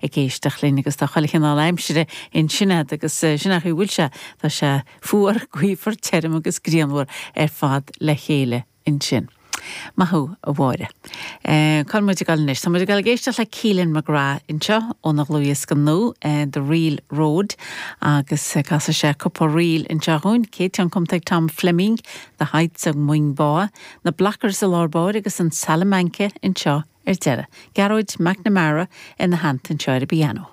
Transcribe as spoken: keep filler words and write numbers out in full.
ag éisteacht linn agus tá chuile chineál aimsire ansin agus sin a bhfuil sé tá sé fuar gaofar tirim agus grianmhar ar fad le chéile ansin. Maith thú a Mháire. Cá muid ag dul anois, Tá muid ag éisteacht le Keelan McGrath anseo óna dhlúthdhiosca nua The Reel Road agus casfaidh sé cúpla ríl anseo dúinn, céad ceann cumtha ag Tom Fleming, The Heights of Moing Bá, na Blockers i lár báire agus an Salamanca anseo ar deireadh. Gearóid McNamara ina theannta anseo ar an bpianó.